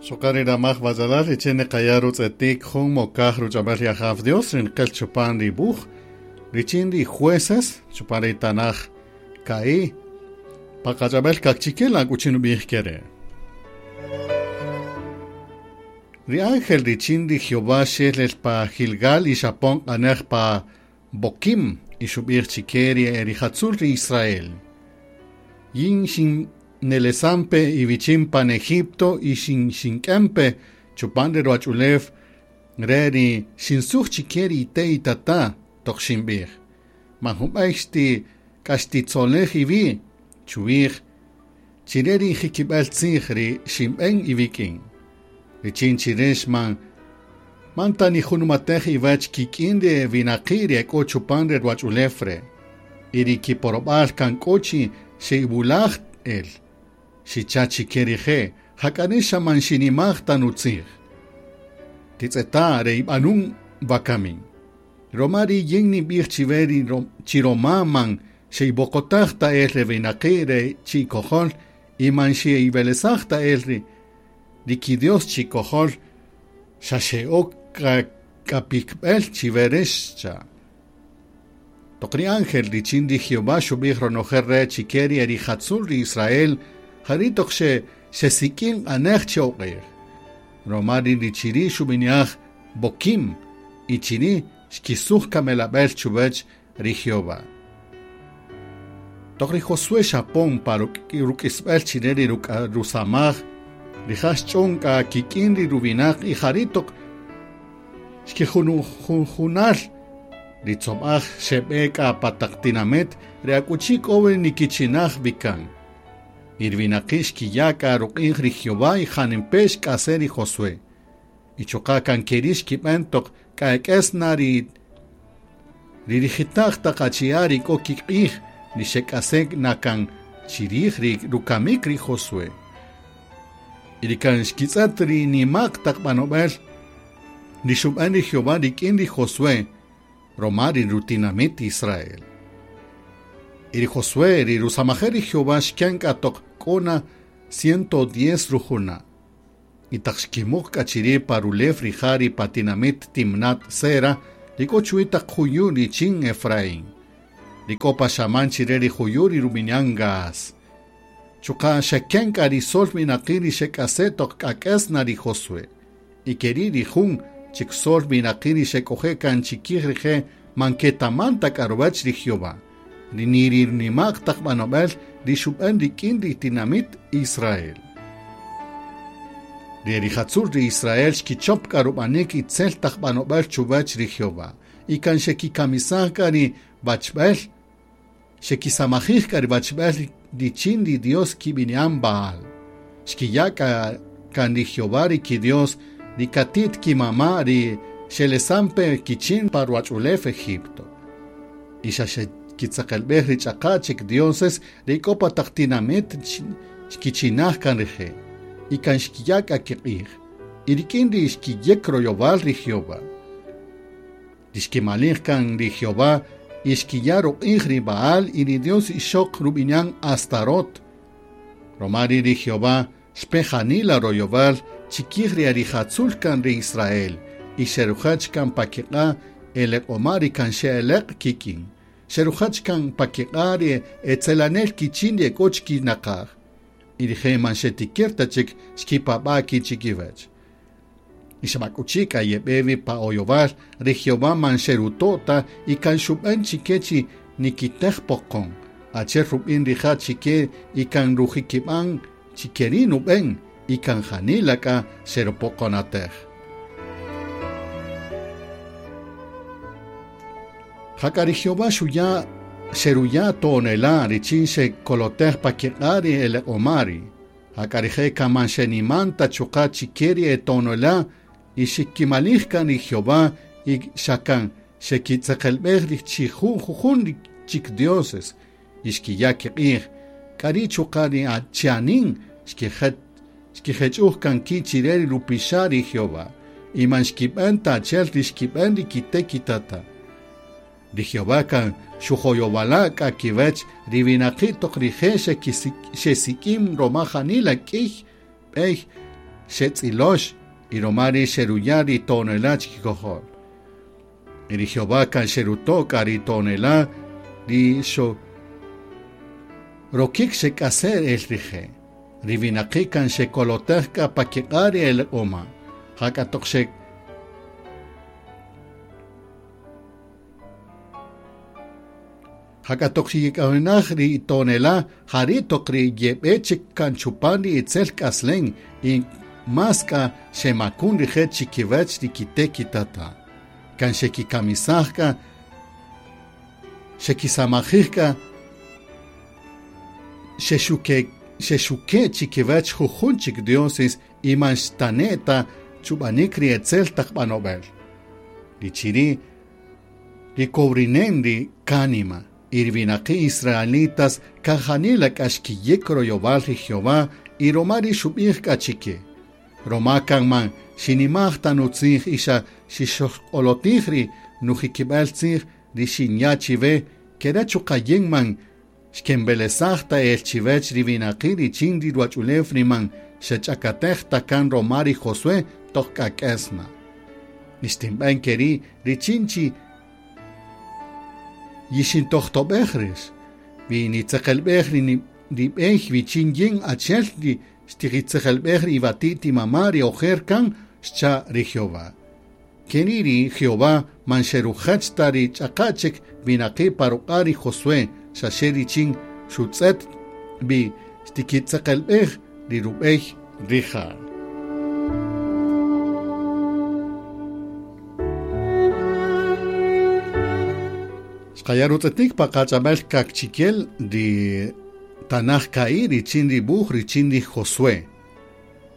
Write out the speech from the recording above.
Chuqa' ri ramaj wach'alal richin niqaya' rutz'etik jun mokaj ruch'ab'äl ri Ajaw Dios ri nqel chupan ri wuj richin ri jueces chupan ri tanaj ka'i' pa qach'ab'äl kaqchikel akuchi nub'ij ke re'. Ri ángel richin ri Jehová xel el pa Gilgal y xapon q'anej pa Boquim y xub'ij chike ri e rijatzul ri Israel. Yin xin nelesampe iwichin pan Egipto y xink'empe chupan ri ruwach'ulew re ri xinsuj chike ri ite' itata' toq xinb'ij. Man junb'ey xti k'axtitzolej iwi' chuwij chire ri jikib'äl tzij ri xinb'en iwik'in. Richin chirex man ta nijunumatej iwech kik'in ri winaqi' ri ek'o chupan ri ruwach'ulew re'. Y ri kiporob'al kan k'o chi xe'iwulaj el. Xicha' chike rije' jak'a xa man xinimaj ta nutzij. Titz'eta' re ib'anun wakamin. Roma ri yin ninb'ij chiwe ri chi roma man xe'iboqotaj ta el re winaqi' re chi'ikojol y man xe'iwelesaj ta el ri kidios chi'ikojol xa xe'ok k'apikb'el chiwe rex cha'. Toq ri ángel richin ri Jehová xub'ij ronojel re chike ri erijatzul ri Israel jari' toq xesik'in q'anej che oq'ij. Roma ri chiri' xub'ini'aj Boquim y chiri' xkisuj kamelab'el chuwech ri Jehová. Toq ri Josué xapon pa ruk'isb'el chire ri rusamaj rija' xch'on k'a kik'in ri ruwinaq y jari' toq xkijunjunal ri tzob'aj xeb'e k'a pa taq tinamit ri akuchi k'o wi nikichinaj wikan. Y ri winaqi' xkiya' k'a ruq'ij ri Jehová y janimpe' xk'ase' ri Josué. Y chuqa' kan keri' xkib'en toq k'ak'es na ri rijita'q taq achi'a' ri k'o kiq'ij ri xek'ase' na kan chirij ri rukamik ri Josué. Y ri kan xkitz'ët ri nima'q taq b'anob'el ri xub'an ri Jehová rik'in ri Josué roma ri rutinamit Israel. Y ri Josué ri rusamajel ri Jehová xken k'a toq k'o na 110 rujuna'. Y taq xkimuq k'a chiri' pa rulew rija' ri pa tinamit Timnat Sera ri k'o chuwi' taq juyu' richin Efraín. Ri k'o pa xaman chire ri juyu' ri rub'ini'an Gaas. Chuqa' xeken k'a ri sol winaqi' ri xek'ase' toq k'ak'es na ri Josué. Y keri' ri jun chik sol winaqi' ri xek'oje' kan chikij rije' man ketaman ta k'a ruwach ri Jehová. Ri niri nima'q taq b'anob'el ri xub'an rik'in ri tinamit Israel. Ri rijatzul ri Israel xkichop k'a rub'anik itzel taq b'anob'el chuwach ri Jehová. Y kan xekikamisaj k'a ri wachb'el, xekisamajij k'a ri wachb'el richin ri Dios kib'ini'an Baal. Xkiya' k'a kan ri Jehová ri kidios ri katit kimama' ri xelesampe kichin pa ruwach'ulew Egipto. Y xa xekitzeqelb'ej ri ch'aqa' chik dioses ri k'o pa taq tinamit xkichinaj kan rije'. Y kan xkiya' k'a kiq'ij. Y rik'in ri xkiyek royowal ri Jehová. Ri xkimalij kan ri Jehová y xkiya' ruq'ij ri Baal y ri Dios ixoq rub'ini'an Astarot. Roma ri' ri Jehová xpe janila royowal chikij ri arijatzul kan ri Israel y xerujach kan pa kiq'a' eleq'oma' ri kan xe'eleq' kik'in. Xerujach kan pa kiq'a' ri etzelanel kichin ri ek'o chikinaqaj. Y rije' man xetikir ta chik xkipab'a' ki' chikiwach. Y xab'ak'uchi k'a yeb'e wi pa oyowal ri Jehová man xeruto' ta y kan xub'an chike chi nikitej poqon. Achi'el rub'in rija' chike y kan rujikib'an chikeri' nub'en y kan janila k'a xerupoqonatej. Jak'a ri Jehová xuya' xeruya' to'onela' richin xekolotej pa kiq'a' ri eleq'omari. Jak'a rije' kan man xeniman ta chuqa' chike ri eto'onela' y xikimalij kan ri Jehová y xa kan xekitzeqelb'ej ri chi jujun chik dioses y xkiya' kiq'ij. K'ari' chuqa' ri chianin xkijech'uj kan ki' chire ri rupixa' ri Jehová y man xkib'an ta achi'el ri xkib'an ri kite' kitata'. Ri Jehová kan xujoyowala' k'a kiwech ri winaqi' toq rije' xesik'in roma janila k'iy b'ey xetz'ilox y romari xeruya' ri to'onela' chikikojol. Y ri Jehová kan xeruto' k'a ri to'onela' ri rokik xek'ase' el rije'. Ri winaqi' kan xekolotej k'a pa kiq'a' ri eleq'oma'. Jak'a toq Jak'a toq xiyik'awinaj ri to'onela' jari' toq ri yeb'e chik kan chupan ri itzel k'aslen y más k'a xemakun rije' chikiwech ri kite' kitata'. Kan xekikamisaj k'a, xekisamajij k'a, xexuke' chikiwech jujun chik dioses y man xtane' ta chub'anik ri etzel taq b'anob'el. Ri chiri' ri kowrinen ri kánima y ri winaqi' israelitas kan janila k'a xkiyek royowal ri Jehová y roma ri xub'ij k'a chike. Roma kan man xinimaj ta nutzij y xa xixojq'olotij ri nujikib'al tzij ri xinya' chiwe kere chuqa' yin man xkenb'elesaj ta el chiwech ri winaqi' richin ri ruwach'ulew ri man xech'akatej ta kan roma ri Josué toq k'ak'esna. Ixtinb'an keri' richin chi yixintojtob'ej rix, wi nitzeqelb'ej ri b'ey wichin yin achi'el ri xtijitzeqelb'ej ri iwati't imama' ri ojer kan xcha' ri Jehová. Keri' ri Jehová man xerujach ta ri ch'aqa' chik winaqi' pa ruq'a' ri Josué xaxe richin xutz'et wi xtikitzeqelb'ej ri rub'ey rija'. Xqaya' rutz'etik pa qach'ab'al kaqchikel ri Tanaj ka'i' richin ri wuj richin ri Josué.